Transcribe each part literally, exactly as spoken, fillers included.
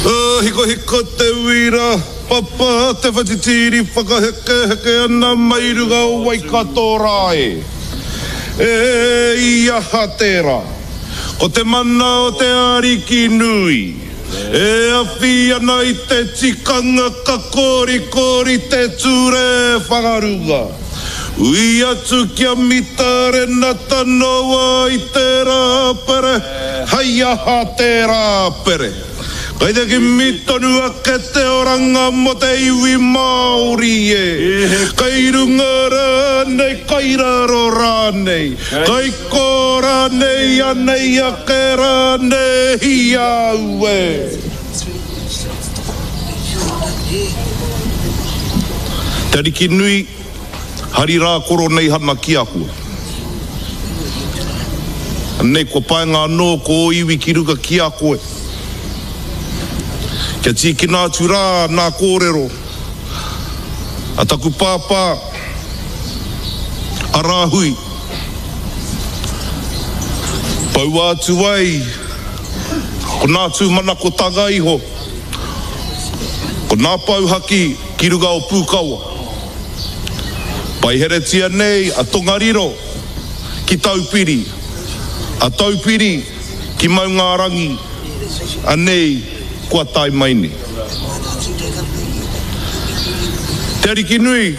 Hikohiko te uira, papa te whatitiri whakahekeheke ana mai runga o Waikato rā e. E i aha tērā? Ko te mana o te Ariki nui, e awhi ana i te tikanga ka korikori te ture whangarunga. Ui atu kia Mita Renata Noa i te Rāpere, hei aha te Rāpere. Kai te kimi tonu ake te oranga mō te iwi Māori e. Kai runga rānei, kai raro rānei, kai kō rānei, anei ake rānei i a au e. Te Ariki nui, hari rā Koroneihana ki a koe. Anei kua paenga anō ko ō iwi ki runga ki a koe. Kia tīkina atu rā nā kōrero a taku pāpā, a Rāhui. Poua atu ai ko nā tūmanakotanga iho, ko nā pouhaki ki runga o Pūkawa. Paiheretia nei a Tongariro ki Taupiri, a Taupiri ki Maungārangi, anei kua tae mai nei. Te Ariki nui,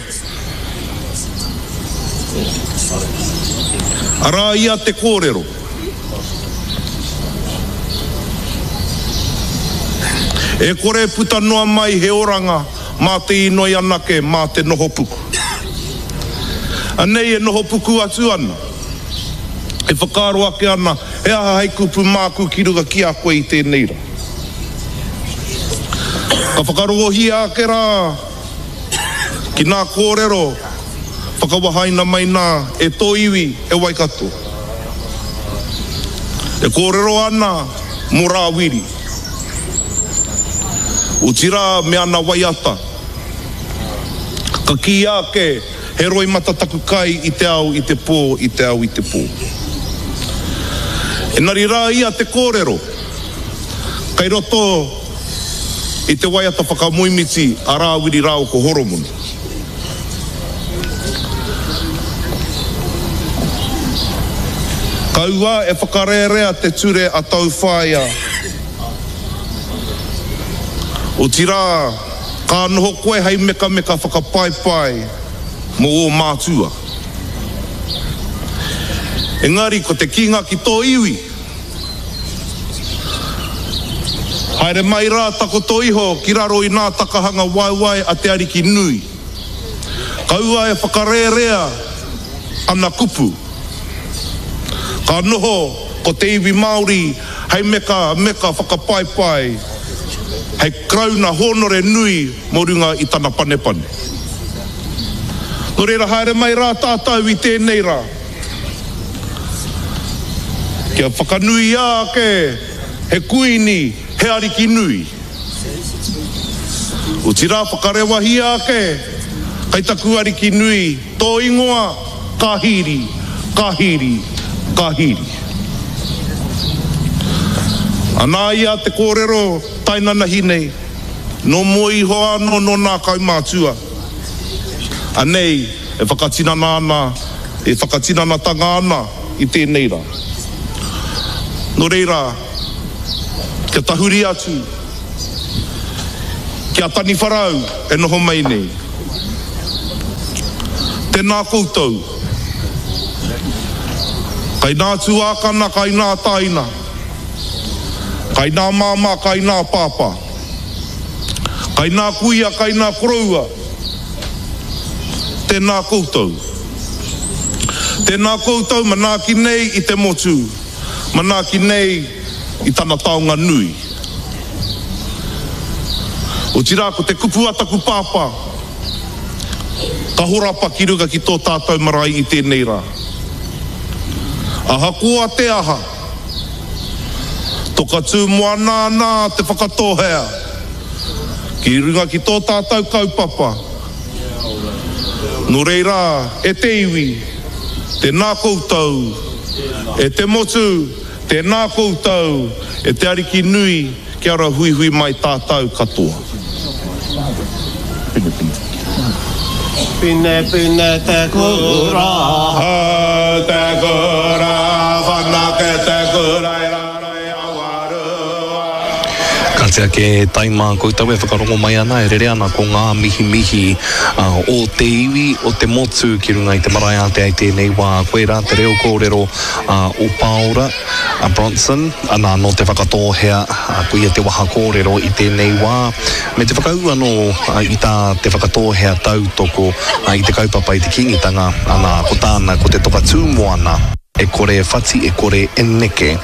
arā ia te kōrero. E kore puta noa mai he oranga mā te inoi anake mā te noho puku. Anei e noho puku atu ana, e whakaaro ake ana he aha hei kupu māku ki runga ki a koe i tēnei rā. Ka whakarongohia ake rā ki nā kōrero whakawahaina mai nā e tō iwi e Waikato. E kōrero ana mō Rāwiri. Otirā me ana waiata. Ka kīia ake he roimata taku kai i te ao i te pō, i te ao i te pō. Engari rā ia te kōrero, kei roto i te waiata whakamoemiti a Rāwiri rāua ko Horomona. Kaua e whakarērea te ture a tau whaea. Otirā, ka noho koe hei mekameka whakapaepae mō ō mātua. Engari ko te kīnga ki tō iwi, haere mai rā takoto iho ki raro i nā takahanga waewae a te Ariki nui. Kaua e whakarērea ana kupu. Ka noho ko te iwi Māori hei meka meka whakapaepae, hei karauna hōnore nui mō runga i tana panepane. Nō reira haere mai rā tātou i tēnei rā. Kia whakanuia ake he kuini, he ariki nui. Otirā whakarewahia ake kai taku ariki nui, tō ingoa ka hīri, ka hīri, ka hīri. Anā ia te kōrero tainanahi nei, nō mua iho anō nō nā kaumātua. Anei e whakatinana ana, e whakatinanatanga ana i tēnei rā. Nō reira, kia tahuri atu, kia taniwharau e noho mai nei. Tēnā koutou. Kai nā tuākana, kai nā taina. Kai nā māmā, kai nā pāpā. Kai nā kuia, kai nā koroua. Tēnā koutou. Tēnā koutou manaaki nei i te motu, manaaki nei i tana taonga nui. Otirā ko te kupu a taku pāpā, ka horapa ki runga ki tō tātou marae i tēnei rā. Ahakoa te aha, toka tū moana ana te whakatōhea ki runga ki tō tātou kaupapa. Nō reira, e te iwi, tēnā koutou, e te motu, tēnā koutou, e te Ariki nui, Kia ora huihui mai tātou katoa. Pine, pine. Pine, pine te kura. Hau te kura, whanake te kura i raro i Awarua. Ka tea ke taima koutou e whakarongo mai ana, e rere ana ko ngā mihimihi uh, o te iwi, o te motu ki runga i te marae ātea i tēnei wā. Koirā te reo kōrero uh, o Pāora a Bronson, ana nō Te Whakatōhea, uh, ko ia te waha kōrero i tēnei wā, me te whakaū anō uh, i tā Te Whakatōhea tautoko uh, i te kaupapa i te Kīngitanga, ana ko tāna ko te toka tū moana. E kore e whati, e kore e neke.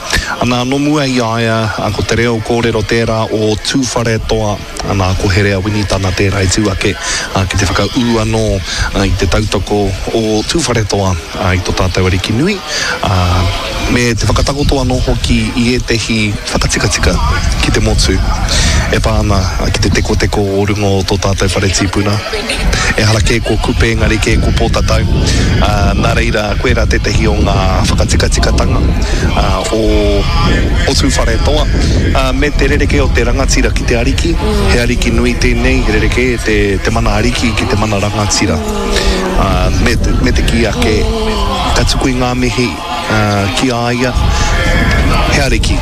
Ana, nō mua i a ia, ko te reo kōrero tērā o Tūwharetoa, ana, ko Herea Winitana tērā i tū ake ki te whakaū anō i te tautoko o Tūwharetoa i tō tātou Ariki nui, me te whakatakoto anō hoki i ētehi whakatikatika ki te motu e pā ana ki te tekoteko o runga o tō tātou whare tīpuna. Ehara kē ko Kupe, engari kē ko Pōtatau. Nā reira, koirā tētehi o ngā whakatikatikatanga o, o Tūwharetoa, me te rerekē o te rangatira ki te ariki. He ariki nui tēnei, he rerekē te, te mana ariki ki te mana rangatira. Me, me te kī ake, ka tuku i ngā mihi ki a ia, he ariki,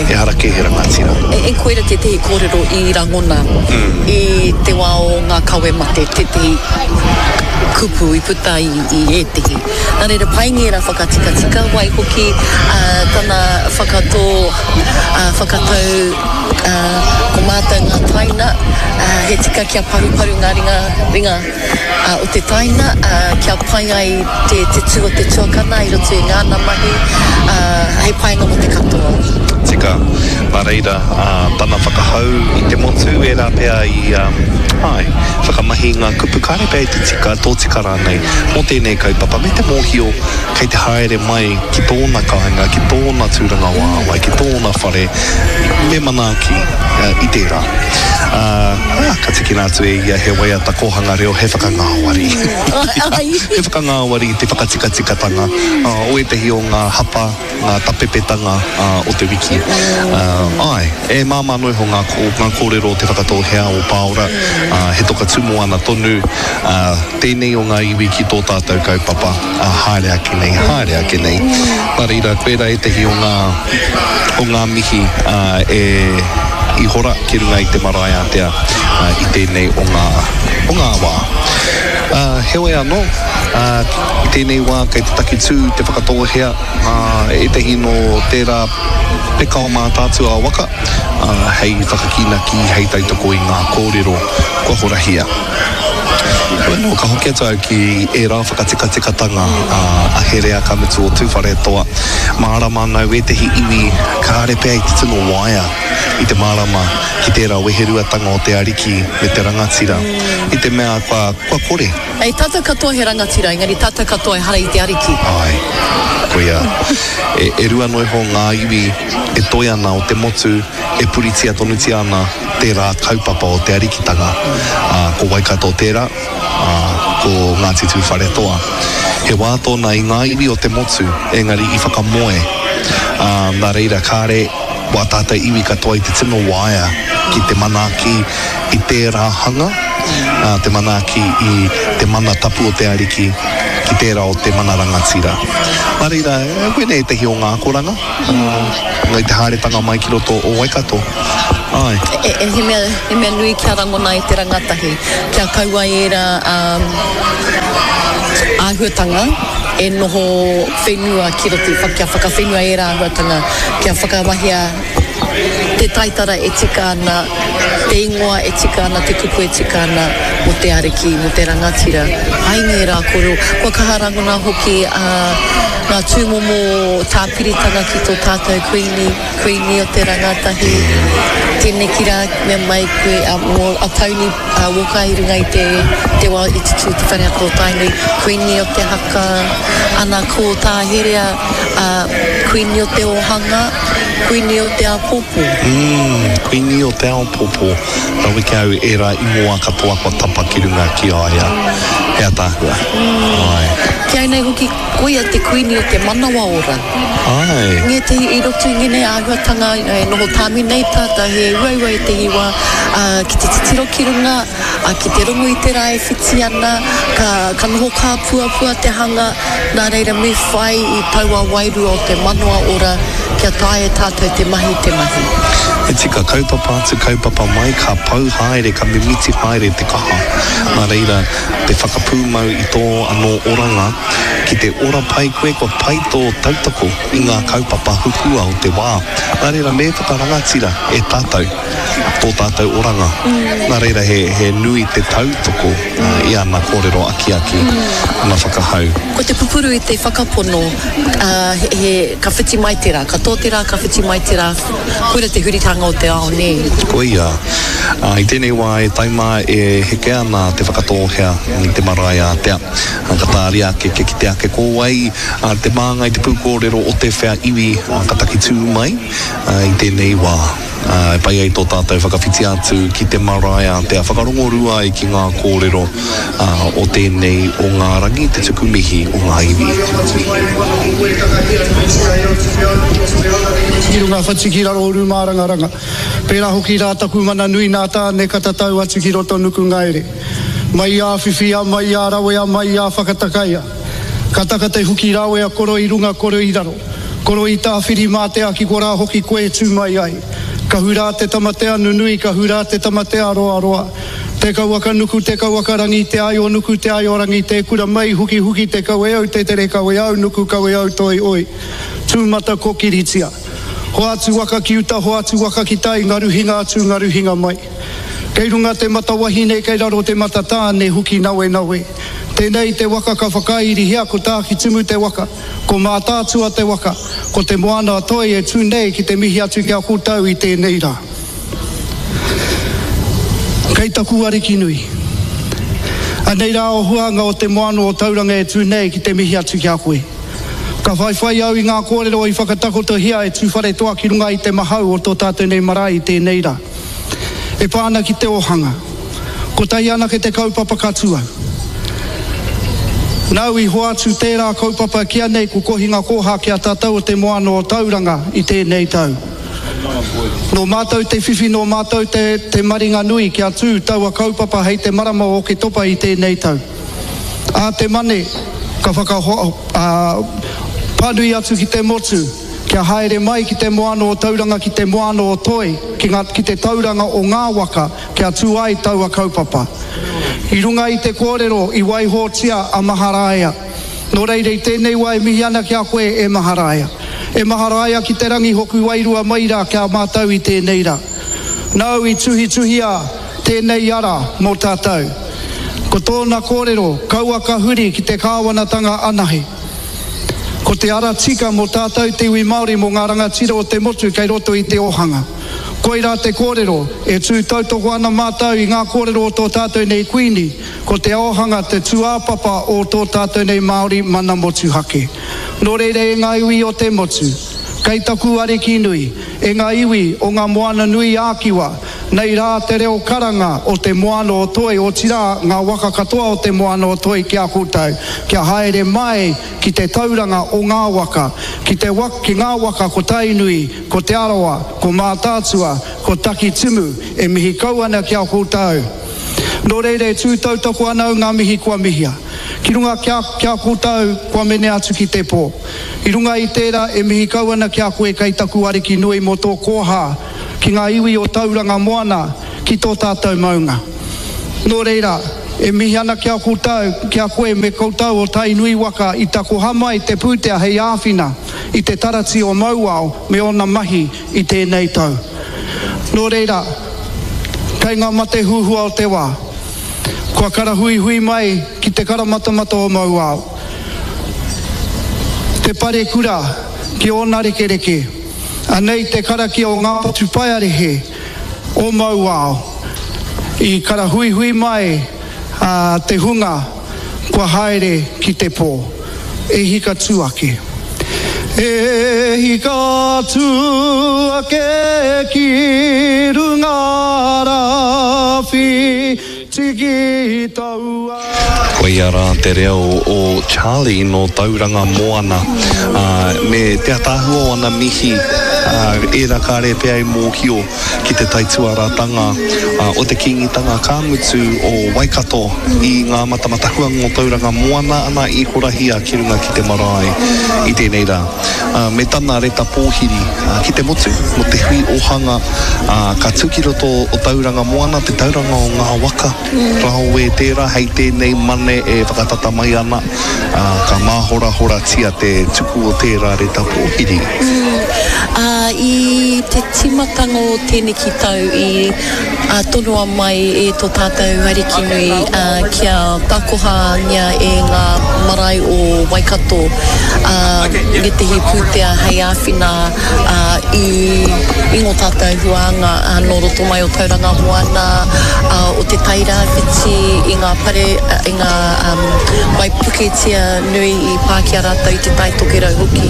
ehara kē he rangatira. E, e koira tētehi kōrero i rangona mm. i te wā o ngā kawe mate, tētehi kupu i puta i, i ētehi. Nā reira, pai ngērā whakatikatika, waihoki uh, tana whakatō, uh, whakatau uh, ko mātou ngā taina, uh, he tika kia paruparu ngā ringa, ringa uh, o te taina, uh, kia pai ai te, te tū o te tuakana i roto i ngāna mahi, uh, hei painga mō te katoa. Tika, nā reira, uh, tana whakahau i te motu, ērā pea i, um, ai, whakamahi ngā kupu kāre pea i te tika, tōtika rānei, mō tēnei kaupapa, me te mōhio kei te haere mai ki tōna kāinga, ki tōna tūrangawaewae, ki tōna whare, me manaaki uh, i tērā. Uh, ah, ka tikina atu e ia he waiata kōhanga reo, he whakangāwari. He whakangāwari i te whakatikatikatanga uh, o ētehi o ngā hapa, ngā tapepetanga uh, o te wiki. Uh, ai, e māmā noa iho ngā, ngā kōrero o Te Whakatōhea o Pāora, uh, he toka tūmoana tonu, uh, tēnei o ngā iwi ki tō tātou kaupapa, uh, haere ake nei, haere ake nei. Nā reira, koirā ētehi o ngā, o ngā mihi uh, e i hora ki runga i te marae ātea uh, i tēnei o ngā, o ngā wā. Uh, heoi anō, uh, i tēnei wā kei te takitū te Whakatōhea, uh, ētehi nō tērā peka o Mātaatua waka, uh, hei whakakīnaki, hei tautoko i ngā kōrero kua horahia. Heoi anō, ka hoki atu au ki ērā whakatikatikatanga uh, a Herea ka mutu o Tūwharetoa. Mārama anau ētehi iwi kāre pea i te tino waea i te mārama ki tērā weheruatanga o te ariki me te rangatira, i te mea kua, kua kore. Hei, tātou katoa he rangatira, engari tātou katoa ehara i te ariki. Ai, koia. E, e rua noa iho ngā iwi e toe ana o te motu, e puritia tonutia ana tērā kaupapa o te arikitanga. Uh, ko Waikato tērā, uh, ko Ngāti Tūwharetoa. He wā tōna i ngā iwi o te motu, engari i whakamoe. Uh, nā reira, kāre wā tātou iwi katoa i te tino waea ki te manaaki i tērā hanga, uh, te manaaki i te mana tapu o te ariki ki tērā o te mana rangatira. Nā reira, koinei ētehi o ngā akoranga, uh, i te haeretanga mai ki roto o Waikato. Ai. E, e, he mea, he mea nui kia rangona e te rangatahi, kia kaua ērā um, āhuatanga e noho whenua ki roto, kia whakawhenua ērā āhuatanga, kia whakamahia te taitara e tika ana, te ingoa e tika ana, te kupu e tika ana mō te ariki, mō te rangatira. Hai ngērā kōrero. Kua kaha rangona hoki uh, ngā tūmomo tāpiritanga ki tō tātou kuini, kuini o te rangatahi. Tēneki rā, mea mai koe, uh, mō a Tony uh, Walker i runga i te, te wā i te tū te whare haka o Tainui, kuini o te haka, ana ko tā Herea, uh, kuini o te ōhanga, kuini o te āpōpō. Mm, Kuini o te Aopopo, rawe ki au ērā ingoa katoa kua tapa ki runga ki a ia. He ataahua. Mm. Ai. Ki au nei hoki, koia te kuini o te manawa ora. Ai. Ngētehi i roto i ngēnei āhuatanga, e noho tāmi nei tātou, he uaua ētehi wā, ā, ki te titiro ki runga, ā, ki te rongo i te rā e whiti ana, ka, ka noho kāpuapua te hanga, nā reira me whai i taua wairua o te manawa ora kia taea e tātou te mahi te mahi. He tika, kaupapa atu, kaupapa mai, ka pau haere, ka mimiti haere te kaha. Nā reira, te whakapūmau i tō anō oranga, ki te ora pai koe, kua pai tō tautoko i ngā kaupapa huhua o te wā. Nā reira, me whakarangatira e tātou tō tātou oranga. Nā reira, he, he nui te tautoko i ana kōrero akiaki, ana whakahau. Ko te pupuru i te whakapono, ā, he, he, ka whiti mai te rā, ka tō te rā, ka whiti mai te rā, koira te huritanga o te ao, nē? Koia. Ā, i tēnei wā e taima e heke ana Te Whakatōhea i te marae ātea. Ā, ka tāria ake kia kite ake ko wai te māngai, te pūkōrero o te whea iwi ka taki tū mai i tēnei wā. Ā, e pai ai tō tātou whakawhiti atu ki te marae ātea, whakarongorua ai ki ngā kōrero o tēnei o ngā rangi, te tuku mihi o ngā iwi. Ki runga whati ki raro uru mārangaranga. Pērā hoki rā taku mana nui nā Tāne ka tatau atu ki roto nuku ngaere. Mai i a whiwhia, mai i a rawea, mai i a whakatakaia. Ka taka te huki rawea koro i runga koro i raro. Koro i Tāwhirimātea ki korā hoki koe e tū mai ai. Ka hurā te tamatea nunui, ka hurā te tamatea roaroa. Te kauaka nuku, te kauaka rangi, te aio nuku, te aio rangi, te kura mai, huki huki, te kaweau, te tere kaweau, nuku kaweau, toi oi. Tūmata kokiritia. Hoatu waka ki uta, hoatu waka ki tai, ngaru hinga atu, ngaru hinga mai. Kei runga te mata wahine, kei raro te mata tāne, huki nawe nawe. Tēnei te waka ka whakairihia, ko Tākitimu te waka, ko Mātaatua te waka, ko Te Moana a Toi e tū nei ki te mihi atu ki a koutou i tēnei rā. Kei taku ariki nui. Anei rā o huanga o Te Moana o Tauranga e tū nei ki te mihi atu ki a koe. Ka whaiwhai au i ngā kōrero i whakatakotohia e Tūwharetoa ki runga i te mahau o tō tātou nei marae i tēnei rā. E pā ana ki te ōhanga. Kotahi anake te kaupapa ka tū au. Nāu i hoatu tērā kaupapa kia nei ko Kohinga Kōhā ki a tātou o Te Moana o Tauranga i tēnei tau. Nō mātou te whiwhi, nō mātou te, te maringa nui kia tū taua kaupapa hei te marama o Oketopa i tēnei tau. Ā te Mane ka whakahoa, ā, pānui atu ki te motu kia haere mai ki te Moana o Tauranga ki te Moana o Toi, ki ngā, ki te tauranga o ngā waka kia tū ai taua kaupapa. I runga i te kōrero i waihotia a Maharaia. Nō reira i tēnei wā e mihi ana ki a koe e Maharaia. E Maharaia ki te rangi hoku wairua mai rā ki a mātou i tēnei rā. Nāu i tuhituhia tēnei ara mō tātou. Ko tōna kōrero, kaua ka huri ki te kāwanatanga anahe. Ko te ara tika mō tātou te iwi Māori mō ngā rangatira o te motu kei roto i te ōhanga. Koirā te kōrero, e tū tautoko ana mātou i ngā kōrero o tō tātou nei Kuini, ko te ōhanga te tūāpapa o tō tātou nei Māori mana motuhake. Nō reira e ngā iwi o te motu, kei taku ariki nui, e ngā iwi o ngā moana nui ā-Kiwa, nei rā te reo karanga o te moana o Toi, otirā ngā waka katoa o te moana o Toi ki a koutou, kia haere mai ki te tauranga o ngā waka, ki te ki ngā waka ko Tainui, ko Te Arawa, ko Mātaatua, ko Takitimu, e mihi kau ana ki a koutou. Nō reira e tū tautoko ana au ngā mihi kua mihia. Ki runga ki a, ki a koutou kua mene atu ki te pō. I runga i tērā e mihi kau ana ki a koe kei taku ariki nui mō tō kōhā ki ngā iwi o Tauranga Moana ki tō tātou maunga. Nō reira, e mihi ana ki a koutou, ki a koe me koutou o Tainui waka i takoha mai te pūtea hei āwhina i te tarati o Mauao me ōna mahi i tēnei tau. Nō reira, kei ngā mate huhua o te wā, kua karahuihui mai ki te karamatamata o Mauao, te parekura ki ōna rekereke, anei te karakia o ngā patupaiarehe o Mauao i karahuihui mai te hunga kua haere ki te pō, e hika tū ake. E hika atu ake ki runga rāwhiti ki taua. Koia rā te reo o Charlie nō Tauranga Moana, me te ataahua o ana mihi, ērā kāre pea i mōhio ki te taituaratanga o te Kīngitanga ka mutu o Waikato i ngā matamatahuanga o Tauranga Moana ana i horahia ki runga ki te marae i tēnei rā. Me tana reta pōhiri ki te motu mō te hui ohanga ka tū ki roto o Tauranga Moana, te tauranga o ngā waka raowe tērā hei tēnei mane e whakatata mai ana, ka māhorahoratia te tuku o tērā reta pōhiri. Mm. I te tīmatanga o tēneki tau i tonoa mai e tō tātou Arikinui kia takohangia e ngā marae o Waikato ngētehi pūtea hei āwhina i, i ngō tātou huānga nō roto mai o Tauranga Moana, o Te Tairāwhiti, i ngā pare, i ngā um, waipuketia nui i pā ki a rātou i Te Tai Tokerau hoki.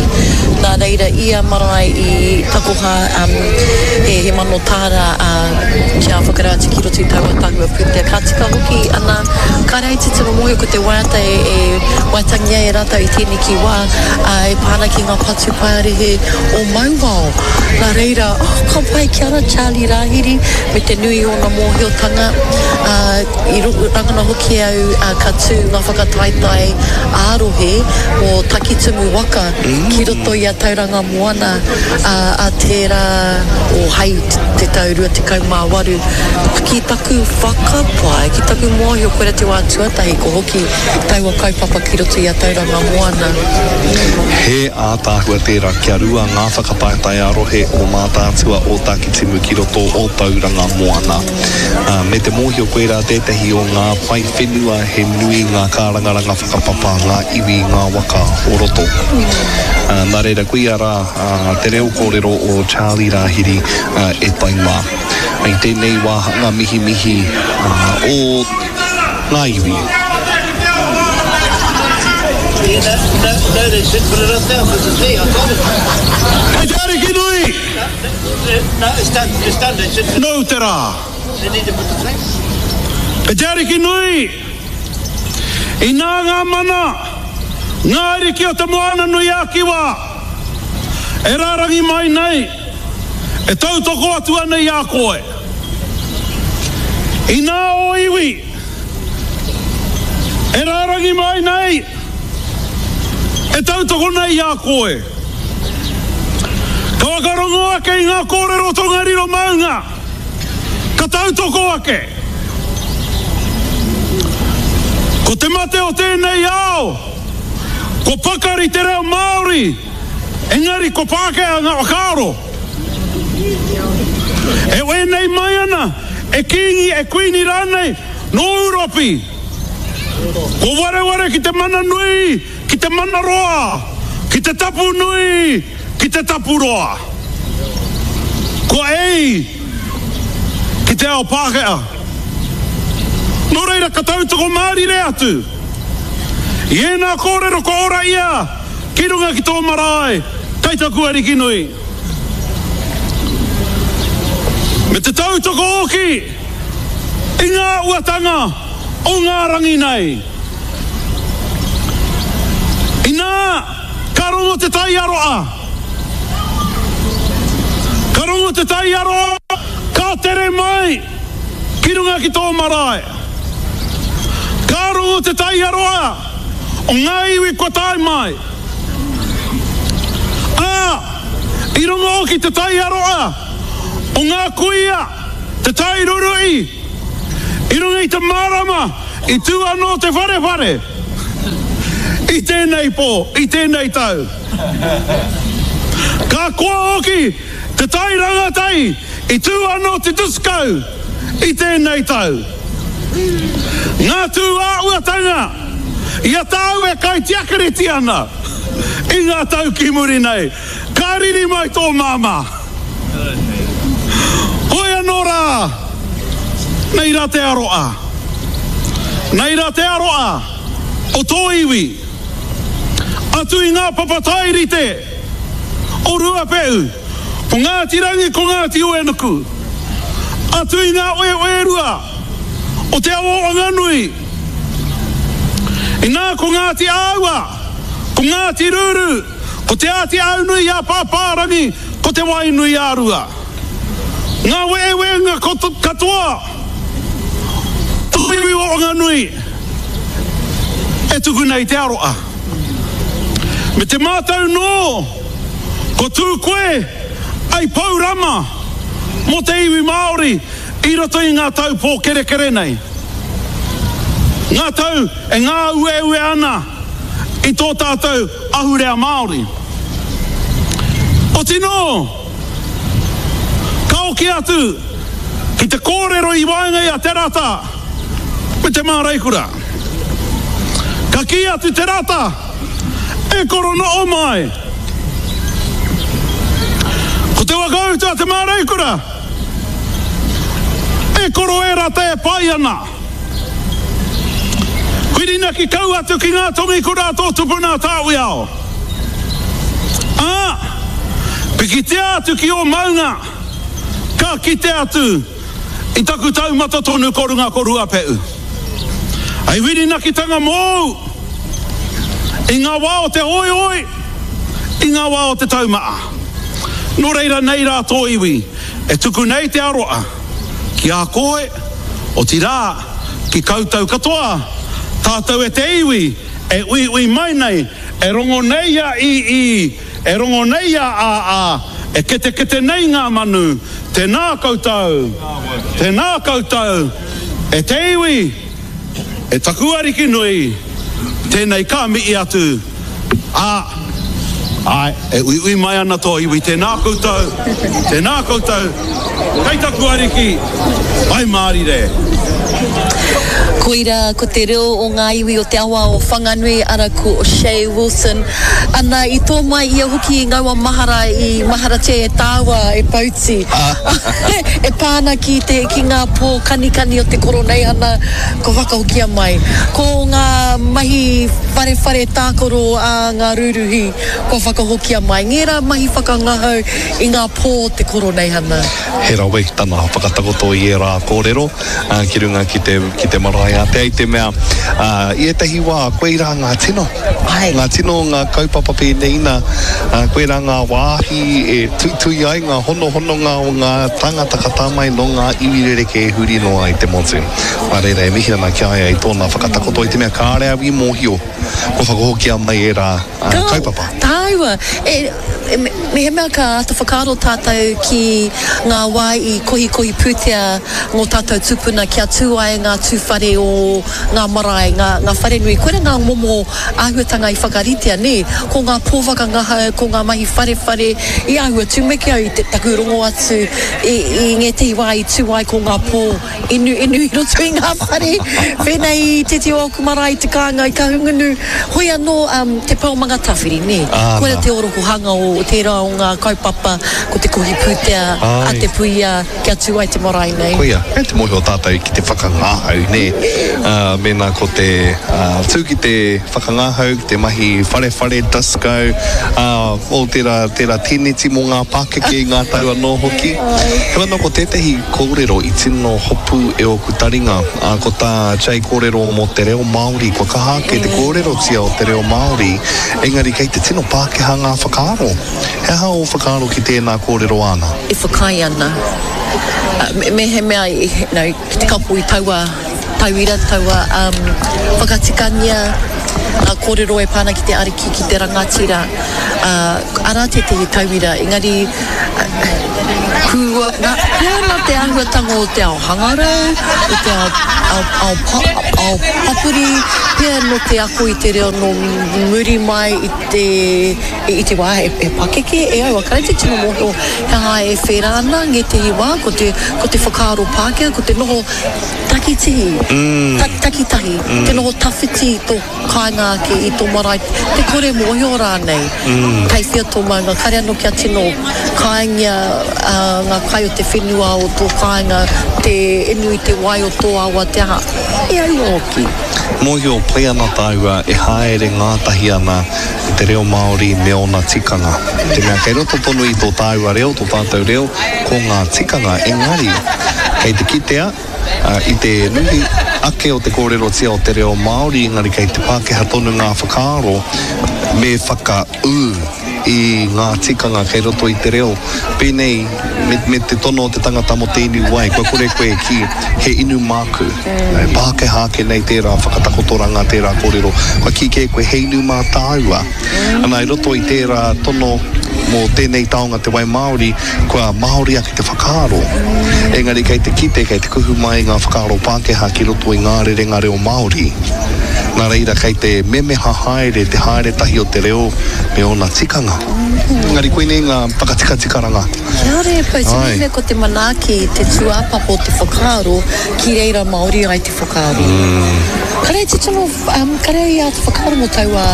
Nā reira, ia marae i takoha um, he, he mano tāra uh, kia whakarau atu ki roto i taua tahua pūtea. Ka tika hoki ana, kāre ai te tino mōhio ko te waiata e, e waiatangia e rātou i tēneki wā, uh, e pā ana ki ngā patu paerehe o Mauao. Nā reira, oh, ka pai kia ora Charlie Rāhiri me te nui o ōna mōhiotanga. Uh, i rangona hoki au uh, ka tū ngā whakataetae ā-rohe mō Takitumu waka ki roto i a Tauranga Moana uh, a tērā o hei te tau rua tekau mā waru. Ki taku whakapae, ki taku mōhio, koira te wā tuatahi ko hoki taua kaupapa ki roto i a Tauranga Moana. He ātaahua tērā kia rua ngā whakataetae ā-rohe o Mātaatua o Tākitimu ki roto o Tauranga Moana. Uh, me te mōhio koirā tētahi o ngā pae whenua he nui ngā kārangaranga whakapapa, ngā iwi, ngā waka o roto. Uh, nā reira, koia rā uh, te reo kōrero o Charlie Rāhiri uh, e tai mā. I tēnei wāhanga mihimihi uh, o ngā iwi. Hei te Ariki nui! Nōu te rā! Hei te Ariki nui! Inā ngā mana, ngā ariki o te Moana nui a Kiwa, e rārangi mai nei, e tautoko atu ana i a koe. Inā ō iwi, e rārangi mai nei, e tautoko nei i a koe. Ka whakarongo ake i ngā kōrero Tongariro maunga, ka tautoko ake. Ko te mate o tēnei ao, ko pakari te reo Māori, engari ko Pākehā ngā whakaaro. E wēnei mai ana, e kīngi, e kuini rānei, nō Ūropi. Ko wareware ki te mana nui, ki te mana roa, ki te tapu nui, ki te tapu roa. Kua ei ki te ao Pākehā. Nō reira ka tautoko mārire atu. I ēnā kōrero kua ora ia ki runga ki tō marae, kei taku Ariki nui. Me te tautoko hoki i ngā uatanga o ngā rangi nei. Inā, ka rongo te tai aroa. Ka rongo te tai aroa, ka tere mai ki runga ki tō marae. Ka rongo te tai aroa o ngā iwi kua tae mai. Ā, i rongo hoki te tai aroa o ngā kuia, te tai rurui, i runga i te mārama, i tū anō te wharewhare, i tēnei pō, i tēnei tau. Ka koa hoki te tai rangatahi, i tū anō te disco i tēnei tau. Ngā tū āhuatanga, i a tāu e kaitiakareti ana i ngā tau ki muri nei, ka riri mai tō māmā. Hoi anō rā, nei rā te aroa. Nei rā te aroa o tō iwi. Atu i ngā papa tairite, o Ruapehu, ko Ngāti Rangi, ko Ngāti Uenuku. Atu i ngā oeoerua o te awa o Whanganui. Inā ko Ngāti Āua, ko Ngāti Ruru, ko Te Āti Aunui a Pāpārangi, ko Te Wainui a Rua. Ngā weewenga katoa o te iwi o Whanganui e tuku nei te aroa. Me te mātau nō, ko tū koe ai pou rama mō te iwi Māori i roto i ngā tau pōkerekere nei. Ngā tau e ngāueue ana i tō tātou ahurea Māori. Otinō, ka oki atu ki te kōrero i waenga i a Te Rata me Te Māreikura. Ka kī atu Te Rata, e koro no'o mai. Ko te whakautu a Te Māreikura, e koro e Rata e pai ana. Whirinaki kau atu ki ngā tongikura a tō tupuna Tāwiao. Ā, pikitia atu ki ō maunga, ka kite atu i taku taumata tonu ko runga ko Ruapehu. Hei whirinakitanga mōu i ngā wā o te hoihoi, i ngā wā o te taumaa. Nō reira nei rā tō iwi e tuku nei te aroa ki a koe, otirā ki koutou katoa, tātou e te iwi e uiui mai nei, e rongo nei a ii, e rongo nei a aa, e ketekete nei ngā manu, tēnā koutou, tēnā koutou, e te iwi, e taku ariki nui, tēnei ka mihi atu, ā, āe, e uiui mai ana tō iwi, tēnā koutou, tēnā koutou, kei taku ariki, pai mārire. Koira ko te reo o ngā iwi o te awa o Whanganui, ara ko Che Wilson. Ana, i tō mai ia hoki i ngaua mahara i maharatia e tāua e Pouti. E pā ana ki te, ki ngā pō kanikani o te Koroneihana kua whakahokia mai. Ko ngā mahi wharewhare tākaro a ngā rūruhi kua whakahokia mai. Ngērā mahi whakangahau i ngā pō o te Koroneihana. He rawe tana whakatakoto i ērā kōrero ki runga ki te, ki te marae ātea i te mea, i ētahi wā, koirā ngā tino, ngā tino o ngā kaupapa pēnei ina, koirā ngā wāhi e tuitui ai ngā honohononga o ngā tāngata ka tā mai nō ngā iwi rerekē huri noa i te motu. Nā reira e mihi ana ki a ia i tōna whakatakoto i te mea kāre au i mōhio kua whakahokia mai ērā kaupapa. Tāua, e, e, mehemea ka āta whakaaro tātou ki ngā wā i kohikohi pūtea ngō tātou tūpuna kia tū ai ngā tūwhare o ngā marae, ngā, ngā wharenui. Koira ngā momo āhuatanga i whakaritea, nē? Ko ngā pō whakangahau, ko ngā mahi wharewhare, i āhua tumeke au i te taku rongo atu i, i ngētehi wā i tū ai ko ngā pō inu, inu i roto i ngā whare, whēnei i tētehi o ōku marae i te kāinga i Kahungunu. Hoi anō, um, te pā o Mangatawhiri, nē? Koira te orokohanga o tērā o ngā kaupapa, ko te kohi pūtea a te puia kia tū ai te marae nei. Koia, kei te mōhio tātou ki te whakangahau, nē? Uh, mēnā ko te uh, tū ki te whakangahau, ki te mahi wharewhare, disco, uh, o tērā, tērā teneti mō ngā pākeke i ngā tau anō hoki. Heoi anō, ko tētehi kōrero i tino hopu e ōku taringa, uh, ko tā Jay kōrero mō te reo Māori, kua kaha ake te kōrerotia o te reo Māori, engari kei te tino Pākehā ngā whakaaro. He aha ō whakaaro ki tēnā kōrero āna? E whakaae ana. Mehemea no, ki te kapo i taua tauira, taua um, whakatikangia ngā kōrero e pā ana ki te ariki, ki te rangatira, uh, arā tētehi tauira, engari uh, kua, nā, pea nā te āhuatanga o te ao hangarau, o te ao, ao, ao, pa, ao papuri, pea nō te ako i te reo nō muri mai i te, i te wā e, e pakeke, e au, a te tino mōhio he aha e whērā ana ngētehi wā, ko te, ko te whakaaro Pākehā, ko te noho takitihi, mm. ta, takitahi, mm. te noho tawhiti i tō kāinga ake, i tō marae, te kore mōhio rānei, mm. kei whia tō maunga, kare anō kia tino kāingia um, ngā kai o te whenua o tō kāinga, te inu i te wai o tō awa, te aha, e aua hoki. Mōhio pai ana tāua e haere ngātahi ana te reo Māori me ōna tikanga. Te mea kei roto tonu i tō tāua reo, tō tātou reo, ko ngā tikanga, engari kei te kitea i te nui ake o te kōrerotia o te reo Māori, engari kei te Pākehā tonu ngā whakaaro me whakaū i ngā tikanga kei roto i te reo. Pēnei me, me te tono o te tangata mō te inu wai, kua kore koe ki he inu māku. Mm. Pākehā ake nei tērā whakatakotoranga, tērā kōrero. Kua kī kē koe he inu mā tāua. Mm. Ana i roto i tērā tono mō tēnei taonga te wai Māori, kua Māori ake te whakaaro. Mm. Engari kei te kite, kei te kuhu mai ngā whakaaro Pākehā ki roto i ngā rerenga reo Māori. Nā reira kei te memeha haere, te haere tahi o te reo me ōna tikanga. Engari koinei ngā whakatikatikaranga. Kia ora e Pou, tino mea ko te manaaki, te tūāpapa o te whakaaro, ki reira Māori ai te whakaaro. Mm. Kare te tino, um, kare i āta whakaaro mō taua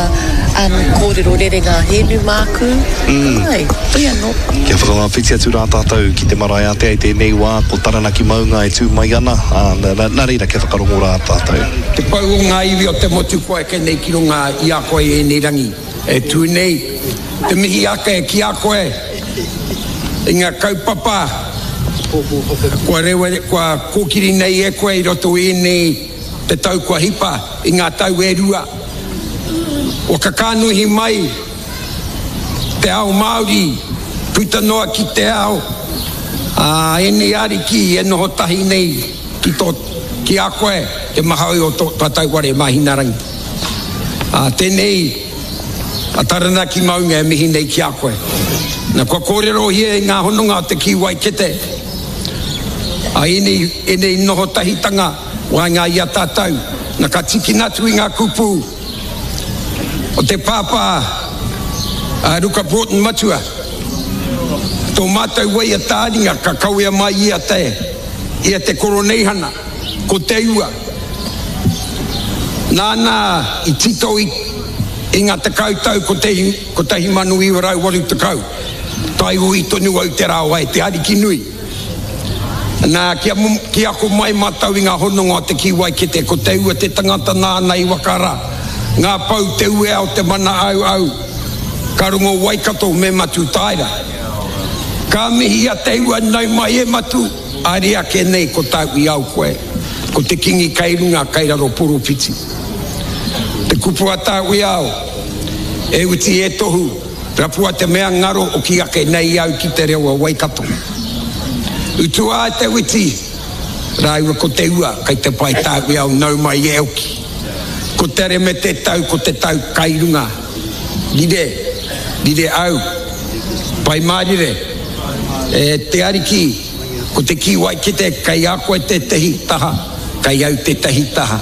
um, kōrero rerenga he inu māku. Mm. Ai, hoi anō. Kia whakawhiti atu rā tātou ki te marae ātea i tēnei wā, ko Taranaki maunga e tū mai ana, ā, nā, nā reira kia whakarongo rā tātou. Te pou o ngā iwi o te motu kua eke nei ki runga i a koe i ēnei rangi e tū nei, te mihi ake ki a koe i ngā kaupapa kua rewa, kua kōkiri nei e koe i roto i ēnei te tau kua hipa i ngā tau e rua. Kua kakānuhi mai te ao Māori puta noa ki te ao, ā, ēnei ariki e noho tahi nei ki tō, ki a koe te mahaoi o tō tātou whare Māhinarangi. Ā, tēnei a Taranaki maunga e mihi nei ki a koe. Na, kua kōrerohia i ngā hononga o te kīwai kete, ā, ēnei, ēnei noho tahitanga waenga i a tātou, na ka tīkina atu i ngā kupu o te pāpā a Ruka Broughton Matua, tō mātou waiata-ā-ringa ka kawea mai ia te, ia te Koroneihana, ko Te Ua. Nāna i tito i, i ngā tekau tau kotahi mano iwa rau waru tekau, taiohi tonu au te rā o Ae Te Ariki Nui. Nā, kia, kia ako mai mātou i ngā hononga o te kīwai kete, ko Te Ua te tangata nāna i whakara ngā pou te uea o te mana au au, ka rongo Waikato me Matutaera. Ka mihi a Te Ua, nau mai e Matu, haere ake nei ko tāu i ao koe, ko te kingi kei runga, kei raro poropiti. Te kupu a tāu i ao, e uti e tohu, Rapua te mea ngaro oki ake nei au ki te reo o Waikato. Utua ai te witi, rāua ko te ua kei te pae tāuiao nau mai e oki. Ko te reme te tau ko te tau kai runga. Rire, rire au. Pai mārire. E te Ariki, ko te kīwai kete kei a koe tētehi taha, kei au tētehi taha.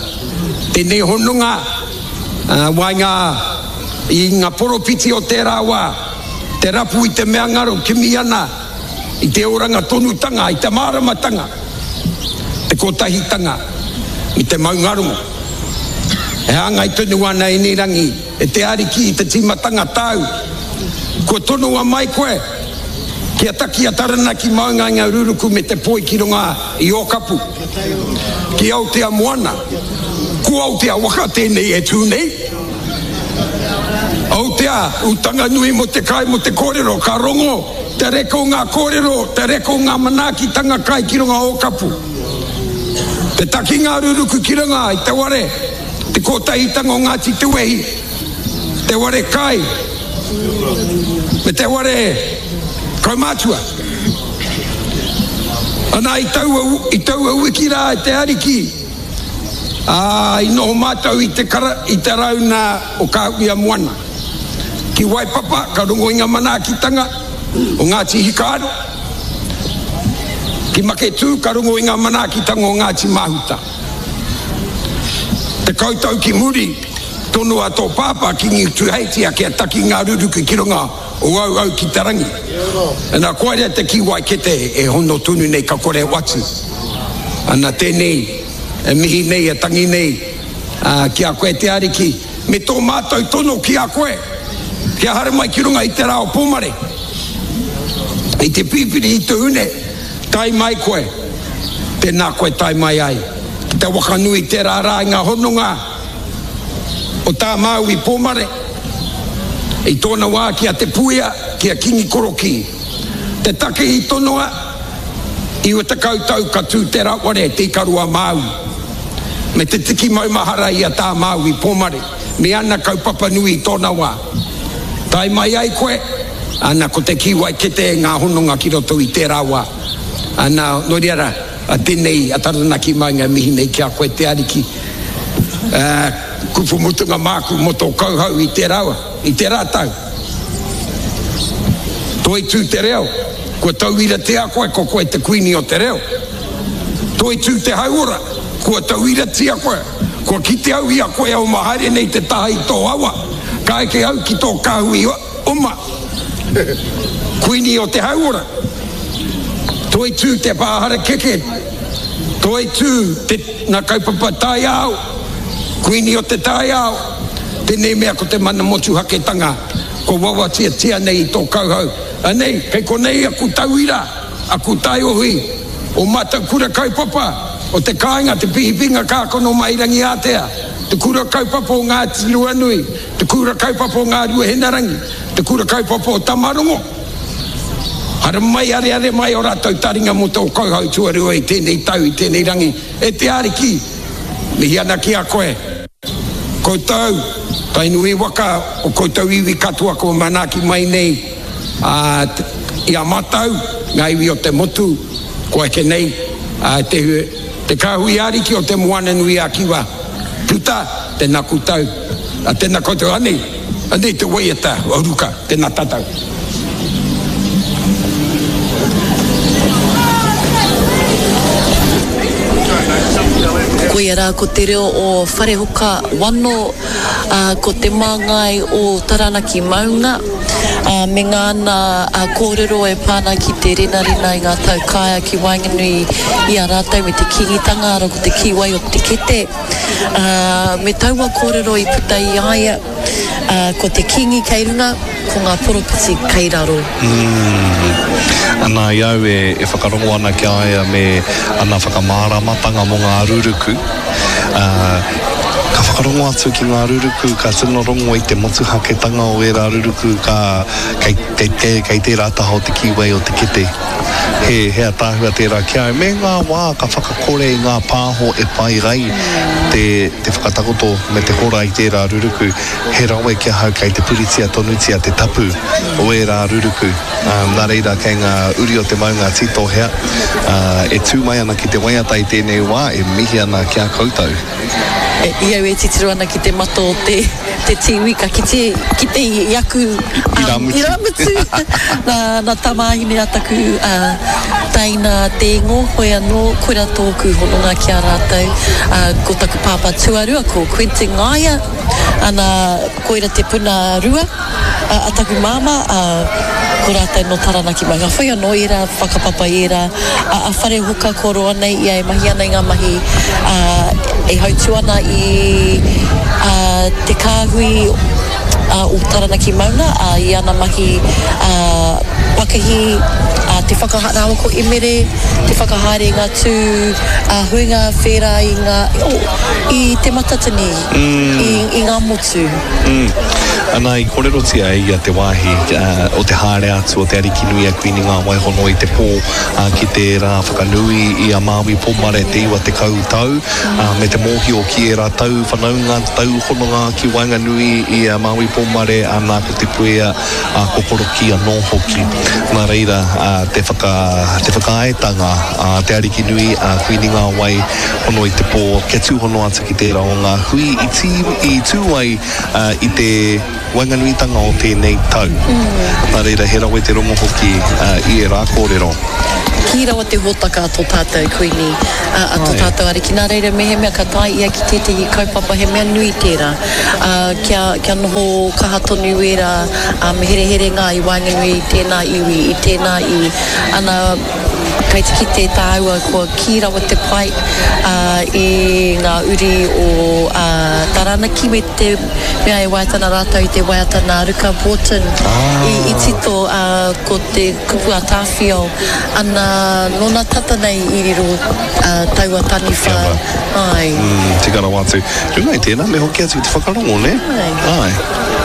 Tēnei hononga, waenga I nga poropiti o tera wa, te rapu i te mea ngaro kimi ana i te oranga tonutanga, i te māramatanga, te kotahitanga, me te maungarongo. E hāngai tonu ana ēnei rangi e te Ariki i te tīmatanga tāu. Kua tonoa mai koe kia taki a Taranaki maunga i nga ruruku me te poi ki runga i Ōkapu, ki Aotea moana. Ko Aotea waka tēnei e tū nei. Aotea, utanga nui mo te kai, mo te kōrero, ka rongo te reka o ngā kōrero, te reka o ngā manaakitanga kai ki runga Ōkapu. Te takinga ruruku ki runga i te ware, te kōtahitanga o Ngāti Te Wehi, te ware kai, me te ware kaumātua. Ana i taua, i taua wiki rā e te Ariki, Ā, i noho mātou i te kara, i te rauna o Kāuia Moana. Ki Waipapa, ka rongo i ngā manaakitanga o Ngāti Hikaaro. Ki Maketū, ka rongo i ngā manaakitanga o Ngāti Mahuta. Tekau tau ki muri, tonoa tō pāpā, Kingi Tuheitia, kia taki ngā ruruku ki runga o Auau ki te rangi. Ana, koia te kīwai kete e hono tonu nei ka kore watu. Ana, tēnei. E mihi nei, e tangi nei ki a koe te Ariki, me tō mātou tono ki a koe, kia haere mai ki runga i te rā o Pōmare, I te Pipiri i te Hune, tae mai koe, tēnā koe tae mai ai. Ki te wakanui tērā rā i ngā hononga o tā Māui Pōmare, i tōna wā ki a Te Puea, ki a Kingi Korokī. Te take i tonoa, iwa tekau tau ka tū te raware Te Ikaroa-Māui, me te tiki maumahara i a tā Māui Pōmare, me ana kaupapa nui i tōna wā. Tae mai ai koe, ana ko te kīwai kete e ngā hononga ki roto i tērā wā. Ana, nō reira, a tēnei a Taranaki Maunga e mihi nei ki a koe te Ariki. Uh, kupu mutunga māku mō tō kauhau i tērā wā, i tērā tau. Toitū te reo, kua tauiratia koe, ko koe te kuini o te reo. Toitū te hauora, kua tauiratia koe, kua kite au i a koe au mahaere nei te taha i tō awa, ka eke au ki tō kāhui oma, kuini o te hauora. Toitū te pāharakeke, toitū te ngā kaupapa taiao, kuini o te taiao, tēnei mea ko te mana motuhaketanga, ko wawatiatia nei i tō kauhau. Anei, kei konei aku tauira, aku taiohi, o mātou kura kaupapa, o te kāinga, te pihipinga kākono mai Rangiātea, te kura kaupapa o Ngāti Ruanui, te kura kaupapa o Ngā Ruahenarangi, te kura kaupapa o Tamarongo. Haramai, areare mai o rātou taringa mō tō kauhau tuarua i tēnei tau, i tēnei rangi. E te Ariki, mihi ana ki a koe. Koutou, Tainui waka o koutou iwi katoa kua manaaki mai nei a, i a mātou, ngā iwi o te motu, kua eke nei a, te, te kāhui ariki o te Moana nui a Kiwa. Puta, tēnā koutou, a, tēnā koutou, anei, anei te waiata o Ruka, tēnā tātou. Koia rā ko te reo o Wharehoka Wano, ā, ko te māngai o Taranaki Maunga, ā, me ngāna kōrero e pā ana ki te renarena i ngā tau kāea ki waenganui i a rātou me te Kīngitanga, arā ko te kīwai o te kete, ā, me taua kōrero i puta i a ia, ā, ko te Kīngi kei runga, ko ngā poropiti kei raro. Mm. Ana i au e, e whakarongo ana ki a ia me ana whakamāramatanga mō ngā ruruku. Uh, ka whakarongo atu ki ngā ruruku, ka tino rongo i te motuhaketanga o ērā ruruku ka, kei, kei, kei, kei tērā taha o te kīwei o te kete. He, he ataahua tērā ki au. Me ngā wā ka whakakore i ngā pāho e pai ai te, te whakatakoto me te hora i tērā ruruku. He rawe ki ahau kei te puritia tonutia te tapu o ērā ruruku. Um, nā reira kei ngā uri o te maunga Tītohea, uh, e tū mai ana ki te waiata i tēnei wā, e mihi ana ki a koutou. E, i au e titiro ana ki te mata o te, te tīwi, ka kite, kite i, i aku um, Irāmutu. irāmutu. nā, nā tamāhine a taku uh, teina te ingo, hoi anō, koira tōku hononga ki a rātou. Uh, ko taku pāpā tuarua, ko Quentin Ngaia, ana koira te puna rua a, a taku māmā, uh, ko rātou no Taranaki Maunga. Whoi anō ērā whakapapa ērā, a, a Wharehoka ko roa nei ia e mahi ana i ngā mahi uh, e hautu ana i uh, te kāhui uh, o Taranaki Maunga, uh, i ana mahi uh, pakihi, uh, te whakahaere ko Emere, te whakahaere ngā tū uh, huinga whērā i ngā, oh, i te matatini, mm. i, i ngā motu. Mm. Ana i kōrerotia e ia te wāhi uh, o te haere atu o te Ariki nui a Kuini Ngā Waihono i te pō uh, ki te rā whakanui i a Māui Pōmare te iwa tekau tau, uh, me te mōhio ki ērā tau whanaunga, tau hononga ki waenganui i a Māui Pōmare, ana ko Te Puea, uh, ko Korokī anō hoki. Nā reira, uh, te, whaka, te whakaaetanga a uh, te Ariki nui a Kuini Ngā Waihono i te pō, kia tūhono atu ki tērā o ngā hui i, tī, i tū ai uh, i te waenganuitanga o tēnei tau. Mm. Nā reira, he rawe te rongo hoki uh, i e rā kōrero. Ki rawa te hōtaka a tō tātou kuini, a, a tō tātou ariki. Nā reira, mehemea ka tae ia ki tētehi kaupapa, he mea nui tērā. Uh, kia, kia noho kaha tonu ērā um, hereherenga i waenganui i tēnā iwi, i tēnā iwi. Ana, Kei te kite tāua kua kī rawa te pae i ngā uri o Taranaki me te mea e waiata ana rātou i te waiata nā Ruka Broughton i tito ko te kupu a Tāwhiao ana nōna tata nei i riro taua taniwha ai. Tika rawa atu. Runga i tēnā me hoki atu ki te whakarongo, nē? Āe.